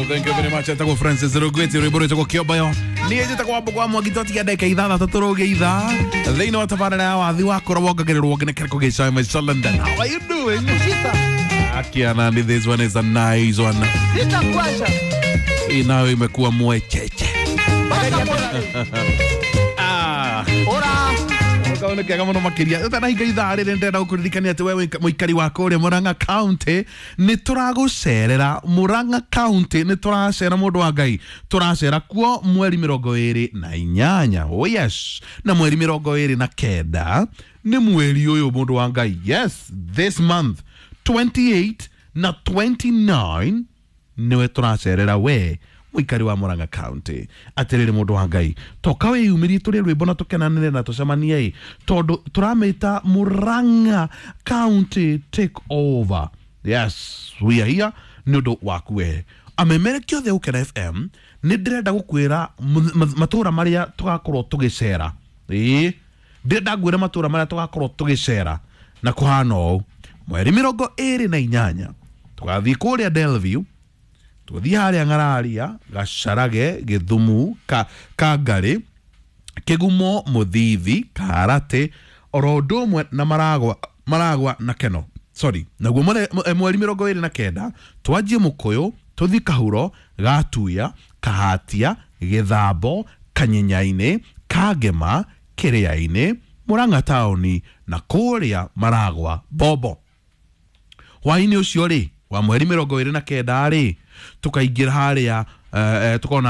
Thank you very much. Etagwo Francis Rugwiti rwimbo rwitagwo Kĩombayo. Niĩ njĩtagwo Wambo kwa Mwangi twatiga ndagĩka ithathatũ tũrũge ithaa thĩinĩ wa tabarĩra ya wathi wakũra wongagĩrĩrwo nginya kĩrĩko gĩcawe Maisha London. How are you doing? Akiana, this one is a nice one. Hii nayo imekuwa mwecheche. Ah. Kaundu kega muno makiria utanahinga ithaa rĩrĩ ndĩrenda gũkũririkania atĩ we mũikari wa kũrĩa Murang'a County nĩ tũragũcerera. Murang'a County nĩ tũracera, mũndũ wa Ngai, tũracera kuo mweri 28. Oh yes, na mweri 29 nĩ mweri ũyũ, mũndũ wa Ngai. Yes, this month 28 na 29 niwe tũracerera we mũikari wa Murang'a County. Atĩrĩrĩ mũndũ wa Ngai, toka wĩyumĩrie tũrĩe rwĩmbo na tũkenanĩre na tũcemanie ĩ, tondũ tũramĩta Murang'a County Take Over. Yes, we are here nĩ ũndũ waku we amemerekia othe Gũkena FM. Nĩ ndĩrenda gũkwĩra matũra marĩa tũgakorwo tũgĩcera. Ĩĩ, ndĩrenda ngwĩre matũra marĩa tũgakorwo tũgĩcera na kũhana ũũ: mweri 28 tũgathiĩ kũrĩa Delview, tũthiĩ harĩa Ng'araria, Gacarage, Gĩthumu, Kangarĩ, Kĩgumo, Mũthithi, Karate, oro ũndũ ũmwe na Maragwa, Maragwa na Keno, sorry. Naguo mweri 29 twanjie Mũkũyũ, tũthiĩ Kahuro, Gatuya, Kahatia, Gĩthambo, Kanyenyainĩ, Kangema, Kĩrĩa-inĩ, Murang'a taũni na kũrĩa Maragwa Bobo. Hwainĩ ũcio rĩ wa mweri 29 rĩ, tũkaingĩra harĩa tũkorwo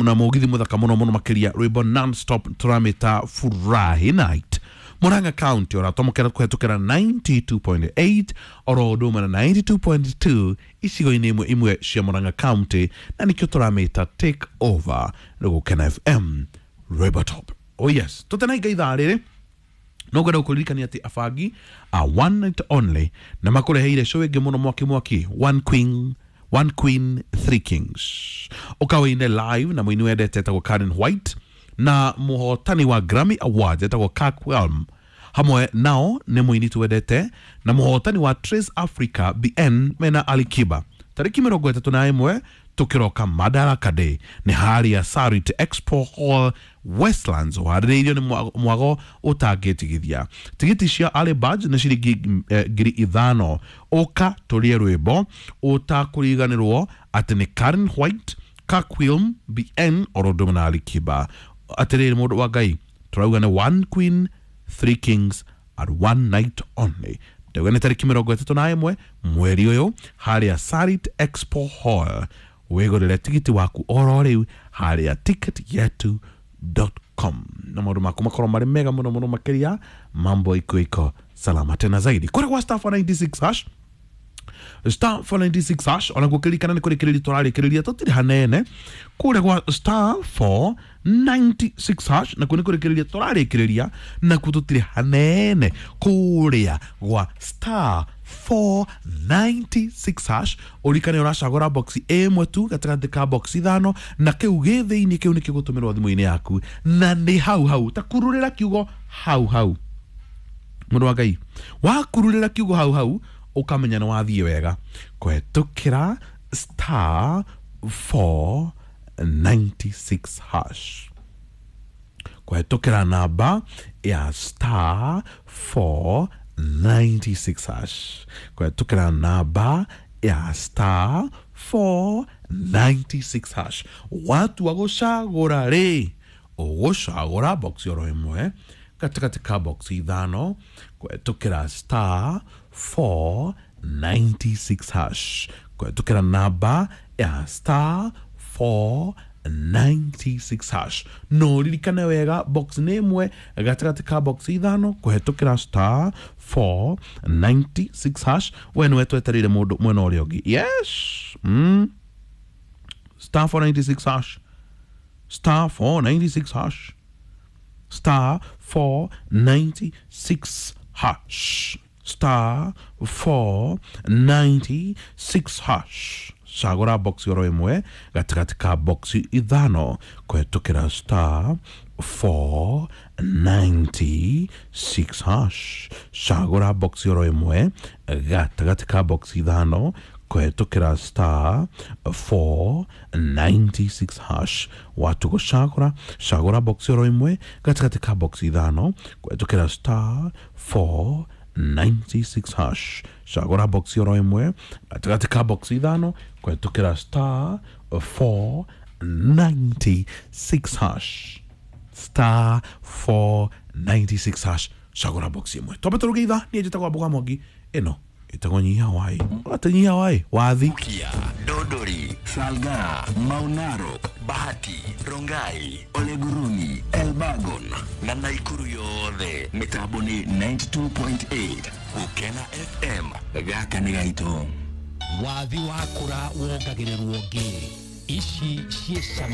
na mũgithi mũthaka mũno mũno makĩria, rwĩmbo non stop, tũramĩta Furahi Night. Murang'a County ũratomokera kũhetũkĩra 92.8 oro ũndũ ũmwe na 92.2 icigo-inĩ imwe imwe cia Murang'a County, na nĩkĩo tũramĩta Take Over nĩ Gũkena FM, rwĩmbo top. Oh yes, tũtenainga ithaa rĩrĩ no ngwenda gũkũririkania atĩ abangi a one night only na makũreheire show ĩngĩ mũno mwaki mwaki, one queen, one queen, three kings. Ũkawĩine live na mũini wendete etagwo Karen White na mũhotani wa Grammy Awards etagwo Kirk Whalum. Hamwe nao nĩ mũini twendete na mũhotani wa Trace Africa BN mena Ali Kiba. Tarĩki 31 tũkĩroka Madaraka Day nĩ harĩa Sarit Expo Hall, Westlands, ũharĩrĩirio nĩ mwago ũtangĩtigithia. Tigiti cia early birds nĩ ciringi 5,000. Ũka tũrĩe rwĩmbo ũtakũriganĩrwo atĩ nĩ Karen White, Kakwilm BN oro ũndũ ũmwe na Ali Kiba. Atĩrĩrĩ mũndũ wa Ngai, tũrauga nĩ one queen, three kings at one night only. Ndauga nĩ tarĩki 31 mweri ũyũ harĩa Sarit Expo Hall. Wĩgũrĩre tigiti waku oro rĩu harĩa ticketyetu.com na maũndũ maku makorwo marĩ mega mũno mũno makĩria. Mambo iko iko salama tena zaidi kũrĩa gwa star 496 hash, star 496 hash. Ona gũkĩririkana nĩ kũrĩkĩrĩria tũrarĩkĩrĩria, tũtirĩ hanene kũrĩa gwa star 496 hash, nakuo nĩ kũrĩkĩrĩria tũrarĩkĩrĩria, nakuo tũtirĩ hanene kũrĩa gwa star 496 hash. Ũririkane ũracagũra box ĩmwe tu gatagatĩ ka box ithano, na kĩu gĩ thĩinĩ kĩu nĩkĩo gũtũmĩrwo thimũ-inĩ yaku, na nĩ hau hau ta kururĩra kiugo hau hau. Mũndũ wa Ngai, wakururĩra kiugo hau hau ũkamenya nĩ wathiĩ wega kũhetũkĩra star 496 hash, kũhetũkĩra namba ya star 496 hash, kũhetũkĩra namba ya star 496 hash. Watua gũcagũra rĩ, ũgũcagũra box oro ĩmwe gatagatĩ ka box ithano kũhetũkĩra star 496 hash, kũhetũkĩra namba ya star 496 hash. No ririkane wega, box nĩ ĩmwe gatagatĩ ka box ithano kũhetũkĩra star 496 hash. We nĩwe twetereire mũndũ mwena ũrĩa ũngĩ. Yes, star 496 hash, star 496 hash, star 496 hash, star 496 hash. Cagũra box oro ĩmwe gatagatĩ ka box ithano kũhetũkĩra star 496 hash. Cagũra box oro ĩmwe gatagatĩ ka box ithano. Kũhetũkĩra star 496 hash. Watu gũcagũra cagũra box oro ĩmwe gatagatĩ ka box ithano kũhetũkĩra star 496 hash. Cagũra box oro ĩmwe gatagatĩ ka box ithano kũhetũkĩra star 496 hash, star 496 hash, cagũra box ĩmwe. Twambe tũruge ithaa. Niĩ njĩtagwo Mbuga Mwangi, ĩno ĩtagwo Nyihia Wai. Atĩ Nyihia Wai wathi. Kia, Dodori, Salga, Maunaro, Bahati, Rongai, Oleguruni, Elbagon na Naikuru yothe mitambo ni 92.8 Gukena FM. Gaka nĩ gaitũ. Wathi wakũra wongagĩrĩrwo ngĩ ici ciĩ cama.